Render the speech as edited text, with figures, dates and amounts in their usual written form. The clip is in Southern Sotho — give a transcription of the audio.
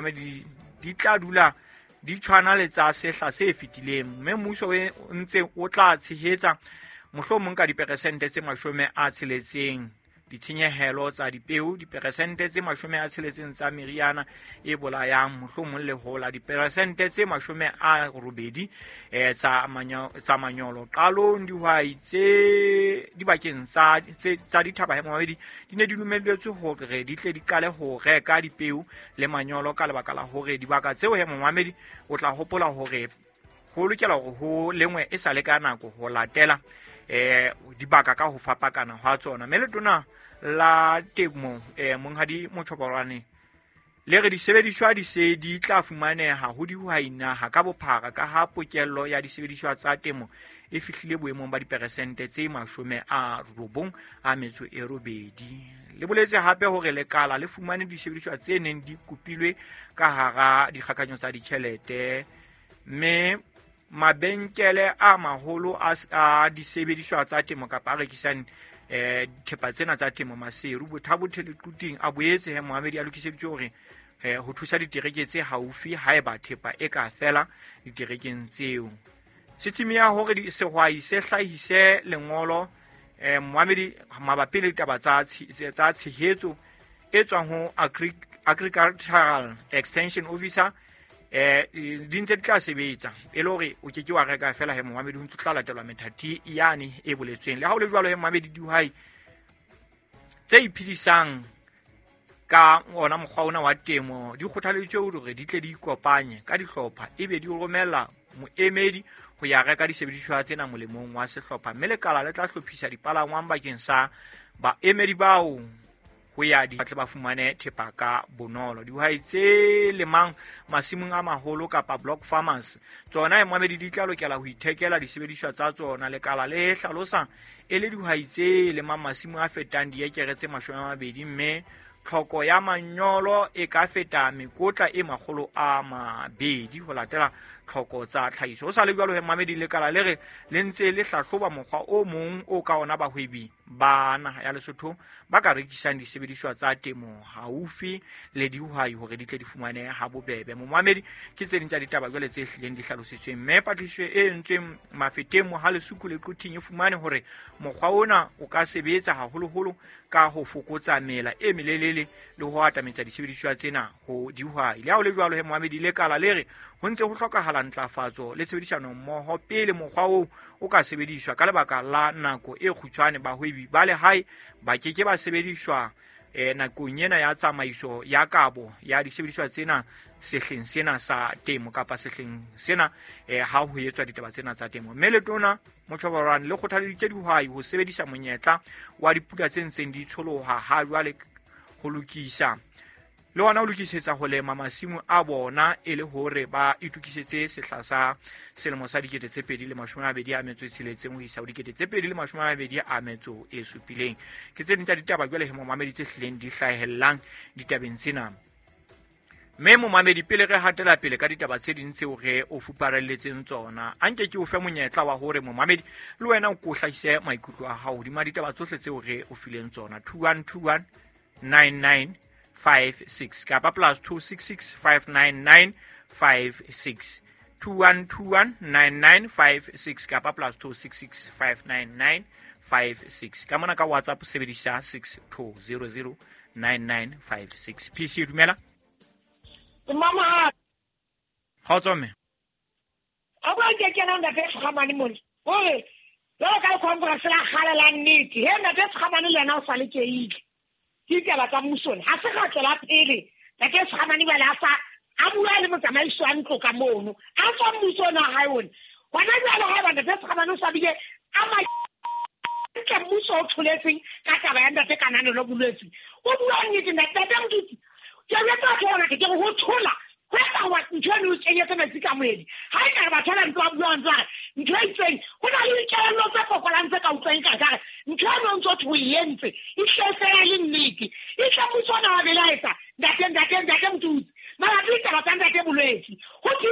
Di tla dula di tshwana le tsa sehla se fetileng, mme mmuso o ntse o tla tshehetsa mohlomong ka diperesente tse 60 ditshenyehelo tsa dipeo, diperesente tse 60 tsa meriana e bolayang mohlomong lehola, diperesente tse 80 tsa manyolo. Qalong dihwai tse dibakeng tsa dithaba he momamedi di ne di lumelletswe hore di tle di qale ho reka dipeo le manyolo ka lebaka la hore dibaka tseo he momamedi o tla hopola hore ho lokela hore ho lengwe e sa le ka nako ho latela dibaka ka ho fapakana hwa tsona. Mme letona la temo Monghadi Mochoborwane le re disebediswa di se di tla fumaneha ho dihwai naha ka bophara ka ha pokello ya disebediswa tsa temo e fihlile boemong ba diperesente tse 98. Le boletse hape hore lekala le fumane disebediswa tse neng di kopilwe ka hara dikgakanyo tsa ditjhelete, mme mabenkele a maholo a disebediswa tsa temo kapa a rekisang thepa tsena tsa temo Maseru, Bothabothe le Quthing a boetse he moamedi a lokiseditswe hore ho thusa ditereke tse haufi haeba thepa e ka fela diterekeng tseo. Setsimi ya hore sehwai se hlahise lengolo moamedi mabapi le ditaba tsa tshehetso e tswang ho Agricultural Extension Officer di ntse di tla sebetsa e le hore o ke ke wa reka fela he momamedi, ho ntse tla latelwa methati yane e boletsweng. Le ha ho le jwalo he momamedi, dihwai tse iphedisang ka ona mokgwa ona wa temo di kgothaleditswe hore di tle di ikopanye ka dihlopha ebe di romela moemedi ho ya reka disebediswa tsena molemong wa sehlopha, mme lekala le tla hlophisa dipalangwang bakeng sa baemedi bao ho ya di tle ba fumane thepa ka bonolo. Dihwai tse lemang masimong a maholo kapa block farmers tsona momamedi di tla lokela ho ithekela disebediswa tsa tsona. Lekala le hlalosa e le dihwai tse lemang masimo a fetang diekere tse 20, mme tlhoko ya manyolo e ka feta mekotla e 200 ho latela tlhoko tsa tlhahiso. Ho sa le jwalo he momamedi, lekala le re le ntse le hlahloba mokgwa o mong o ka ona bahwebi ba naha ya Lesotho ba ka rekisang disebediswa tsa temo haufi le dihwai hore di tle di fumane ha bobebe. Momamedi, ke tse ding tsa ditaba jwale tse hlileng di hlalositsweng, mme patlisiso e entsweng Mafeteng, Mohalesuku le Quthing e fumane hore mokgwa ona o ka sebetsa haholoholo ka ho fokotsa mela e melelele le ho atametsa disebediswa tsena ho dihwai. Le ha ho le jwalo he momamedi, lekala le re ho ntse ho hlokahala ntlafatso le tshebedisano mmoho pele mokgwa oo o ka sebediswa. Ka lebaka la nako e kgutshwane, bahwebi ba lehae ba ke ke ba sebediswa nakong ena ya tsamaiso ya kabo ya disebediswa tsena sehleng sena sa temo kapa sehleng sena ha ho etswa ditaba tsena tsa temo. Mme letona Mochoborwane le kgothaleditse dihwai ho sebedisa monyetla wa dipula tse ntseng di tsholoha ha jwale ho lokisa le hona ho lokisetsa ho lema masimo a bona e le hore ba itokisetse sehla sa selemo sa 2026 ho isa ho 2027. Ke tse ding tsa ditaba jwale he momamedi tse hlileng di hlahellang ditabeng tsena. Mme momamedi, pele re hatela pele ka ditaba tse ding tseo re o fuparelletseng tsona, a nke ke o fe monyetla wa hore momamedi le wena o ko hlahise maikutlo a hao hodima ditaba tsohle tseo re o fileng tsona. 2121 9956 kapa +266 599 56 2121 9956 kapa +266 599 56. Ka mona ka WhatsApp sebedisa 6200 9956. PC dumela. Mama kgotso mme. A bua ke kena ntate Sekgamane mole. Hore jwalo ka congress la kgale la nnete, he ntate Sekgamane le yena o sa le keile. Ke ditaba tsa mmuso ha se ra tswela pele. Ntate Sekgamane jwale a sa a bua le motsamaisi wa ntlo ka mono. A tswa mmuso ona hae ona. Hona jwale haeba ntate Sekgamane o sa bile a ma ntle mmuso o tholetseng ka taba ya ntate Kananelo Bolwetse. O bua nnete ntate Motutsi. Ke jwetsa batho ba bangata ke re ho thola ho etsa hoba ntho eno o kenyetse metsi ka moedi. Ha e ka re batho ba ntse ba bua ntse ba re ntho e itseng, ho na le dikelello tse fokolang tse ka utlwang ka re ntho eno o ntso thwe o e entse, e hle fela le nnete. E hle mmuso ona wa belaetsa ntate Motutsi mabapi le taba tsa ntate Bolwetse. Ho thwe